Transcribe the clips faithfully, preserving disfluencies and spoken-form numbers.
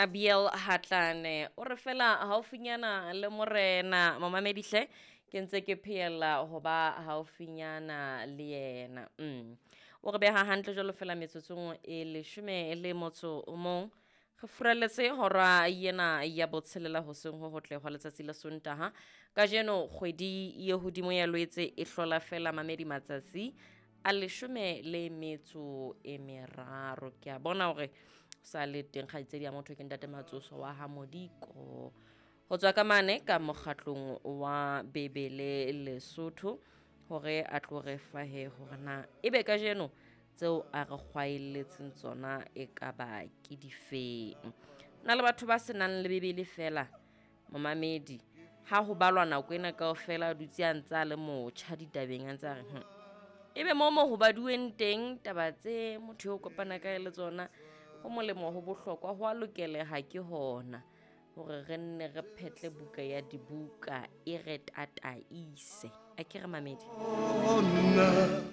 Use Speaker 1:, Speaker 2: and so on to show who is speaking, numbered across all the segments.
Speaker 1: Abiel Hatlane o re fela haufinyana le morena momamedihle ke ntse ke phehella ho ba haufinyana le yena. Mm. O re beha hantle jwalo fela metsotsong e leshome le motso o mong. Re furaletse hora yena ya botshelela hoseng ho hotle hwa letsatsi la Sontaha. Kajeno kgwedi ye hodimo ya Lwetse e hlola fela mamedi matsatsi a leshome le metso e meraro. Ke a bona hore sa le teng kgaitsedi ya motho ke ntate Matsoso wa ha Modiko. Ho tswa ka mane ka mokgatlong wa Bebele Lesotho hore a tlo re fa he hore na ebe kajeno tseo a re kgwaelletseng tsona e ka ba ke difeng. Na le batho ba senang le Bebele fela momamedi ha ho balwa nako ena kaofela a dutse a ntse a le motjha ditabeng a ntse a re hm. Ebe mo mo ho baduweng teng taba tse motho eo kopana kae le tsona ho molemo ho bohlokwa ho a lokeleha ke hona hore re nne re phetle buka ya dibuka e re tataise. A ke re mamedi.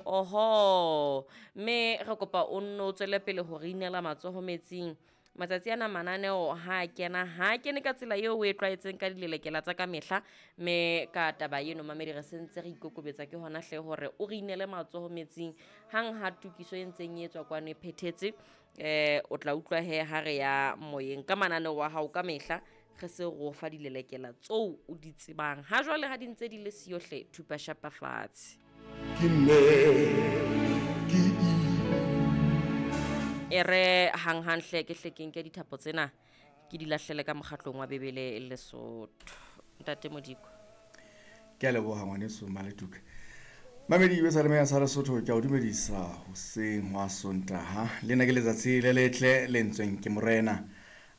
Speaker 1: Oho, mme re kopa o nno o tswele pele hore inela matsoho metsing. Matsatsi ana mananeo ha a kena, ha a kene ka tsela eo o e tlwaetseng ka dilelekela tsa ka mehla. Mme ka taba eno mamedi re sentse re ikokobetsa ke hona hle hore o re inele matsoho metsing. Hang ha tokiso e ntseng e etswa kwano e phethetse, eh o tla utlwa he ha re ya moyeng ka mananeo wa hao ka mehla re se re o fa dilelekela tseo o di tsebang. Ha jwale ha di ntse di le siyo hle, thupa shapa fatshe.
Speaker 2: Ke nne ke
Speaker 1: E re hanghang hle ke hle ke nke dithapo tsena ke di lahlele ka mokgatlong wa Bebele Lesotho. Ntate Modiko.
Speaker 3: Ke a leboha ngwaneso Maletuka. Mamedi e sa le sa Lesotho ke a o dumedisa hoseng hwa Sontaha. Lena ke letsatsi le letle le ntsweng ke morena.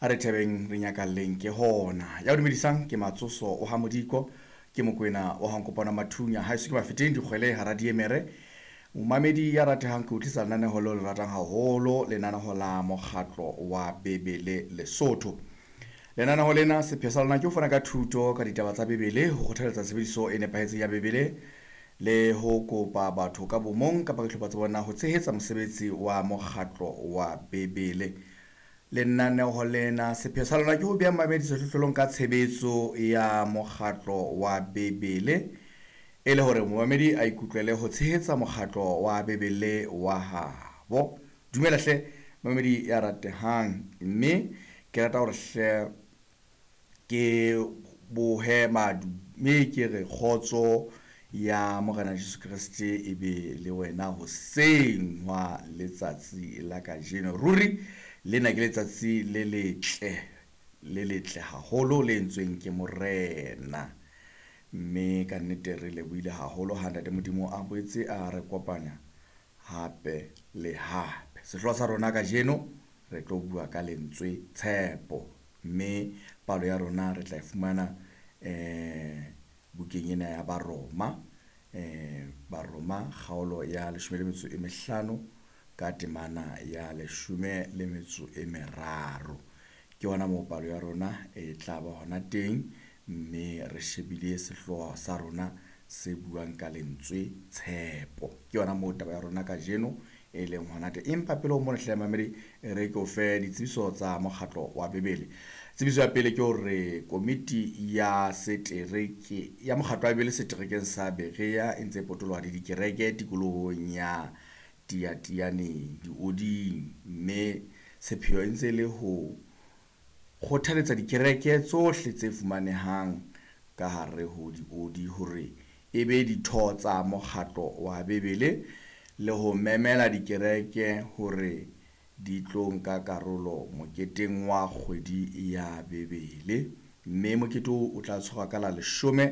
Speaker 3: A re thabeng re nyakalleng ke hona. Ya o dumedisang ke Matsoso o ha Modiko, ke Mokwena o ha Nkopana Mathunya. Ha eso ke mafeteng dikgwele hara diemere. Momamedi ya ratehang ke o tlisa lenaneho leo le ratang haholo, lenaneho la mokgatlo wa Bebele Lesotho. Lenaneho lena sepheo sa lona ke ho fana ka thuto ka ditaba tsa Bebele, ho kgothaletsa tshebediso e nepahetseng ya Bebele le ho kopa batho ka bomong kapa dihlopha tsa bona ho tshehetsa mosebetsi wa mokgatlo wa Bebele. Lenaneho lena sepheo sa lona ke ho beha mamedi sehlohlolong ka tshebetso ya mokgatlo wa Bebele e le hore momamedi a ikutlwele ho tshehetsa mokgatlo wa Bebele wa habo. Dumela hle mamedi ya ratehang, mme ke rata hore hle ke bohe madu mme ke re kgotso ya Morena Jesu Kreste e be le wena hoseng hwa letsatsi la kajeno. Ruri lena ke letsatsi le letle, le letle haholo le entsweng ke morena. Mme ka nnete re lebohile haholo ha Ntate Modimo a boetse a re kopanya hape le hape. Sehlooho sa rona kajeno re tlo bua ka lentswe tshepo, mme palo ya rona re tla e fumana eh bukeng ena ya Baroma, eh Baroma kgaolo ya leshome le metso e mehlano ka temana ya leshome le metso e meraro. Ke hona moo palo ya rona e tla ba hona teng, mme re shebile sehlooho sa rona se buang ka lentswe tshepo. Ke yona moo taba ya rona kajeno e leng hona teng. Empa pele ho mona hle mamedi, re ke o fe ditsebiso tsa mokgatlo wa Bebele. Tsebiso ya pele ke hore komiti ya setereke ya mokgatlo wa Bebele seterekeng sa Berea e ntse e potoloha le dikereke tikolohong ya Tiatianeng dioding, mme sepheo e ntse e le ho kgothaletsa dikereke tsohle tse fumanehang ka hare ho diodi hore e be ditho tsa mokgatlo wa Bebele le ho memela dikereke hore di tlo nka karolo moketeng wa kgwedi ya Bebele. Mme mokete oo o tla tshwarwa ka la leshome